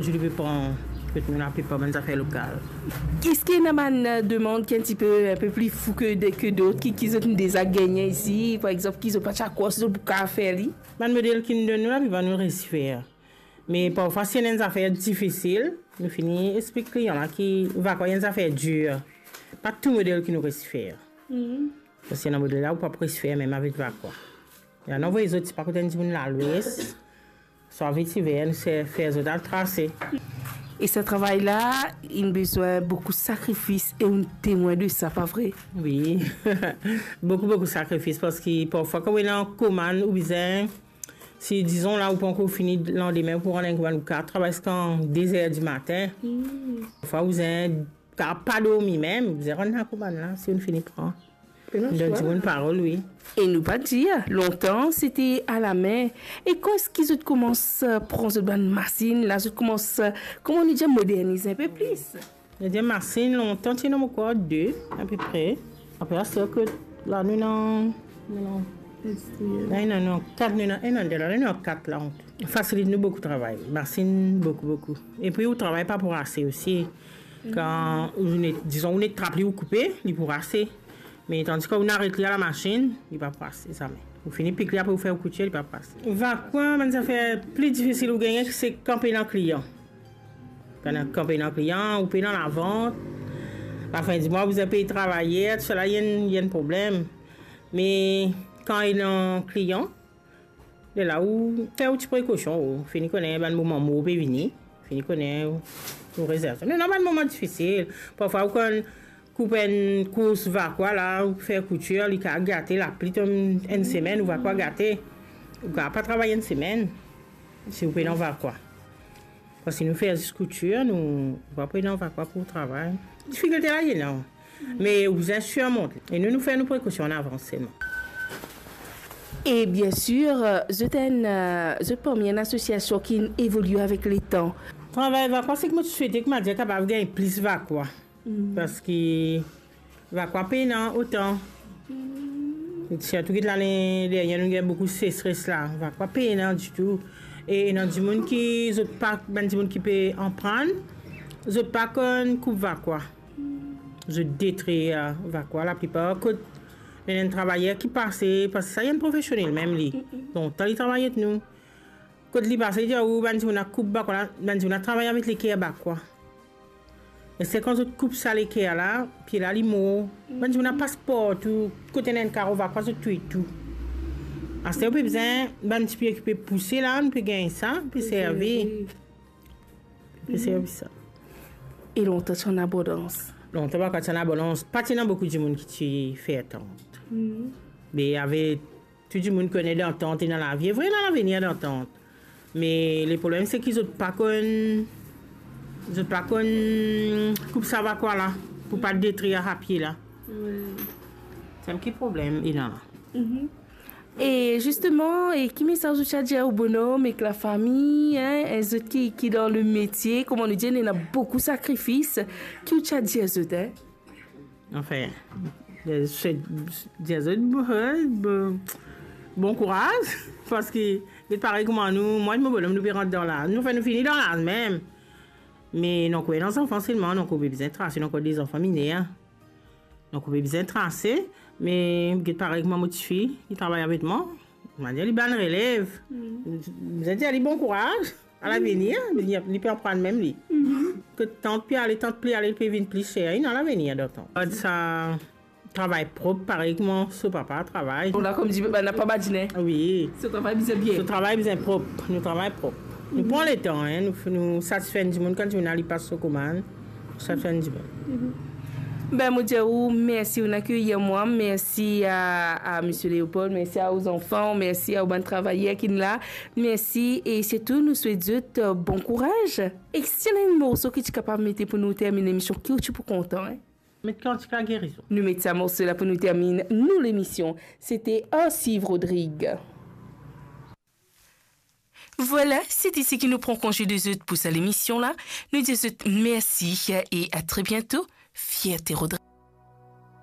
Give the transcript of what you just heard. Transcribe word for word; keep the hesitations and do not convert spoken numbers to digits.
Zot pe pran, kot nou la pe pran bann zafer lokal. Eski ena bann, euh, demann ki enn tipe, enn pe pli fou ke de, ke dot, ki, ki zot inn deza gagne isi, par exanp, ki zot pa ti krwar si zot pou kapav fer li? Bann model ki nou donn nou, laplipa nou resi fer. Me parfwa, si ena enn zafer difisil, nou fini explik klian la ki vakwa enn zafer dir. Pa tou model ki nou resi fer. Mhm. Paski ena model la, ou pa pou resi fer mem avek vakwa. Ena, nou avoy zot, si pa kot enn dimoun Lalwes, swa Vetiver, nou se fer zot al trase. E sa travay la, inn bizin boukou sakrifis e ou temwin de sa, pa vre? Wi. Boukou, boukou sakrifis, paski parfwa, kan ou ena komann, ou bizin, si, dizon, la, ou pa ankor fini, landime, ou pou rann enn komann, ou kapav travay ziska de zer dimatin. Hmm. Parfwa, ou bizin, kapav pa dormi mem, ou bizin rann lakomann la, si ou fini pran. Donn dimoun parol, wi. E nou pa dir, lontan, se te alame. E kan eski zot koumans, euh, pran zot bann masinn la, zot koumans, euh, kouma nou dir, modernize enn pe plis? Nou dir masinn, lontan, ti ena, mo krwar, de, apepre. Apre, aster kot la, nou ena, nou ena, la, nou ena kat, nou ena, ena de la, nou ena kat la, an tou. Fasilit nou boukou travay. Masinn, boukou, boukou. Epi, ou travay pa pou ase osi. Kan ou net, dizon, ou net trap li, ou koupe, li pou ase. Me tandis kan ou aret li a lamasinn, li pa pou ase, zame. Ou fini pik li, apre ou fer ou koutir, li pa pou ase. Vakwa, bann zafer pli difisil ou gagne, se kan pena klian. Kan, kan pena klian, ou pena lavant. Lafin di mwa, ou bizin pey travayer, tousala, li enn, li enn problem. Me kan ena klian, lerla ou fer ou ti prekosion, ou fini kone bann moman mor pe vini, fini kone ou, ou rezerv. Me ena bann moman difisil. Parfwa ou konn koup enn kous vakwa la, ou fer koutir, li kapav gate, lapli tonn enn semenn, ou vakwa gate. Ou kapav pa travay enn semenn, si ou pena vakwa. Paski nou fer zis koutir, nou, ou pa pena vakwa pou travay. Difikilte la, li ena. Me ou bizin sirmonte. E nou, nou fer nou prekosion an avans selman. E bien sir, euh, zot enn, euh, zot parmi enn asosiasion ki evolie avek letan. Travay vakwa, seki mo ti swete ki Madia kapav gagn plis vakwa. Hmm. Paski vakwa pena otan. Hmm. Sirtou ki lane dernie, nou gagn boukou sesres la. Vakwa pena ditou. E ena dimoun ki, zot pa, bann dimoun ki pe aprann, zot pa konn koup vakwa. Zot detrir vakwa, laplipar kot ena enn travayer ki pase, paski sa enn profesionel mem li. Mm, mm. Lontan li travay avek nou. Kot li pase, li dir ou, bann dimoun la koup vakwa la, bann dimoun la travay avek leker vakwa. E se kan zot koup sa leker la, pie la, li mor. Mm. Bann dimoun la pas partou, kot ena enn karo vakwa, zot touy tou. Aster ou pe bizin bann ti pie ki pe pouse la, nou pe gagn sa, pe servi. Servi. Pe servi sa. E lontan ti ann abondans? Lontan pa ti ann abondans, pa ti ena boukou dimoun ki ti fer tant. Mm. Me ave tou dimoun kone dan tant ena lavi. Vre, ena lavenir dan tant. Me le problem, seki zot pa konn, zot pa konn koup sa vakwa la, pou pa detrir sa pie la. Wi. Sa ki problem, ena la. Mhm. E zisteman, e ki mesaz ou ti a dir ou bonom ek lafami, hein, e zot ki, ki dan le metie, kouma nou dir, ena boukou sakrifis, ki ou ti a dir zot, hein? Anfin, se dir zot, bon, bon, bon kouraz, paski, get parey kouma nou, mwa ek mo bonom, nou pe rant dan laz, nou, anfin, nou fini dan laz mem. Me nou ankor ena zanfan selman, nou ankor pe bizin trase, nou ankor de zanfan miner, hein. Donk, ou pe bizin trase, me get parey kouma mo tifi, li travay avek mwa. Mo dir li bann relev. Mm. Bizin dir li bon kouraz, a lavenir, li, li pe aprann mem li. Mhm. Kot tant pe ale, tant pli ale, li pe vinn pli ser, ena lavenir dan tant. Gard sa, travay prop, parey kouma so papa travay. Bon, la, kouma dir, bann la pa badine. Wi. So travay bizin bien. So travay bizin prop, nou travay prop. Nou pran letan, hein, nou, nou satisfer dimoun, kan dimoun al, li pas so komann, satisfer dimoun. Mhm. Ben, mo dir ou mersi, ou'nn akeyir mwa, mersi a, a misie Leopold, mersi a ou zanfan, mersi a ou bann travayer ki la, mersi, e sirtou nou swet zot, euh, bon kouraz. E si ena enn morso ki ti kapav mete pou nou terminn lemision, ki ou ti pou kontan, hein? Met kantik lagerizon. Nou met sa morso la pou nou terminn nou lemision. Sete Arsiv Rodrig. Vwala, sete seki nou pran konze de zot pou sa lemision la. Nou dir zot mersi e a tre biento. Fierte Rodrig.